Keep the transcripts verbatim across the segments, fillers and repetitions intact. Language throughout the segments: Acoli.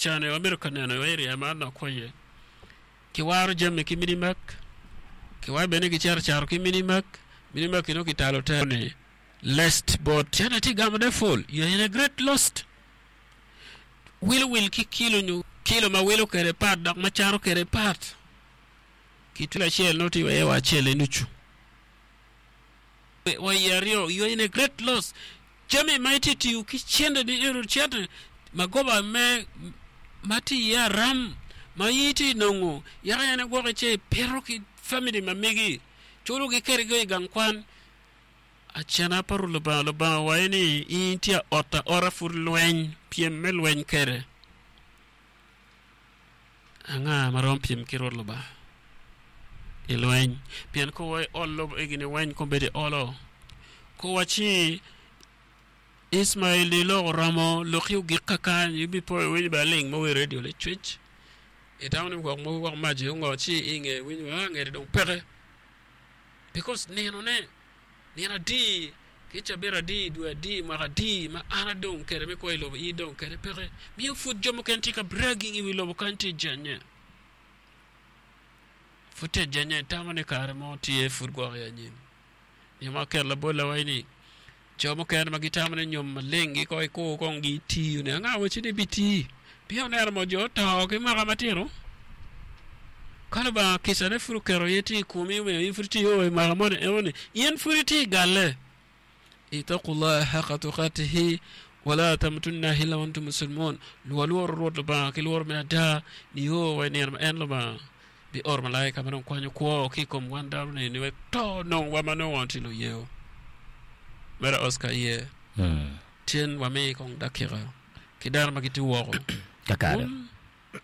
cane wabedo ka neno i area ma an akwo iye kiwaro jami ki minimak kiwaco bene ni gicito caro ki minimak minimak nongo kitalo te ni lest bot cene tye gamone full you are in a great lost wilo wil ki kilo nyo kilo ma wilo kwede pat dok ma caro kwede pat ki twilo acel nongo tye iye wa acel i nucu wa iye aryo you are in a great loss jami ma itye tiyo ki cente ni eno cente magoba me ma tye iye aram ma in itye nongo yaka en igwoko ce ipito ki family ma megi culo gi kede i gang kwan acena pa Rwot Lubanga Lubanga owaco ni in itye aot aota pud lweny pyem me lweny kede anga ma romo pyem ki Rwot Lubanga i lweny pien ka wa i ol lobo egini weny kombeddi olo kowaci Ismail di lok oromo loki ogik kakany ibipo iwinyo bene aling ma wi radio licwic itamo ni gwok mogo gwok mac ongo ci inge iwinyo ah ngete dong peke because ninone nino adi ki cabit adi dwe adi mwaka adi ma an adong kede me kwo i lobo in idong kede peke miyo pud jo mukene tye ka bragging i wi lobo kany tye jenye pud tye jenye tamo ni kare mo tye pud gwok i anyim nyo ma aketo labol awaci ni jo mukene ma gitamo ni nyom maleng gi ko ikur kong gitiyo ni anga waci ni bitii pien oneno mo jo oto ki mwaka matino ka Lubanga kicane pud oketo in tye i komi omiyo in pud itye i mwaka moni enoni in pud itye i galle ittaqullaha haqqa tuqatihi wala tamutunna illa wa antum muslimun walworo Rwot Lubanga ki lworo me ada nio wa i nino ma en Lubanga bioro malaika ma dong kwanyo kwo ki i kom wan dano ni wek to nongwa ma nongo wan tye luyeo mere Oscar iye cen wami kong dakika ki dano ma gitye woko Kakare. Kun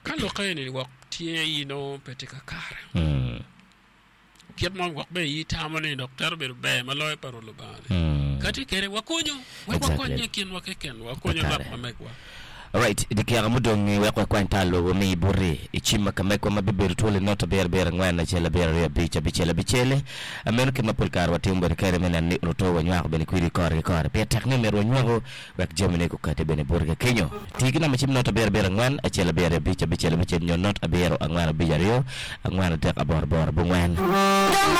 ka lokke ni wok tye i nongo pe tye kakare Mm. kit mo gwok be i tamo ni dok twero bedo ber ma loyo pa Rwot Lubanga ni Mm. ka tye kede wakonyo wek Exactly. wakonye i kinwa keken wakonyo Kakare. lwak ma megwa Alright, dikeka mudong wek wakwany tal lobo mi buti i cim ma kamegwa ma bibedo twolo not abiro abiro angwen acel abiro aryo abic abicel abicel meno kit ma pol kare watimo bene kede me neno ni oluto wanywako bene kwidi kore ki kore pire tek ni myero wanywako wek jamine gukati bene buti ka kenyo tii ki namba cim not abiro abiro angwen acel abiro aryo abic abicel abicel nyo not abiro angwen abic aryo angwen adek aboro aboro abongwen